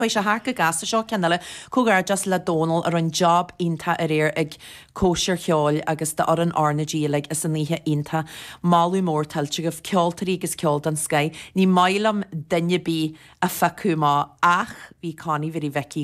Chuaigh sé thart go gasta seo ceann eile. Comhghairdeas le Dónal a rinne job iontach aréir ag cóisir cheoil agus d'fhoireann RnaG uilig as an oíche iontach. Moladh mór tuillte agaibh, ceoltóirí agus ceol den scoith. Ní maith liom duine ar bith a phiocadh amach ach bhí Connie Mhary Mhicí.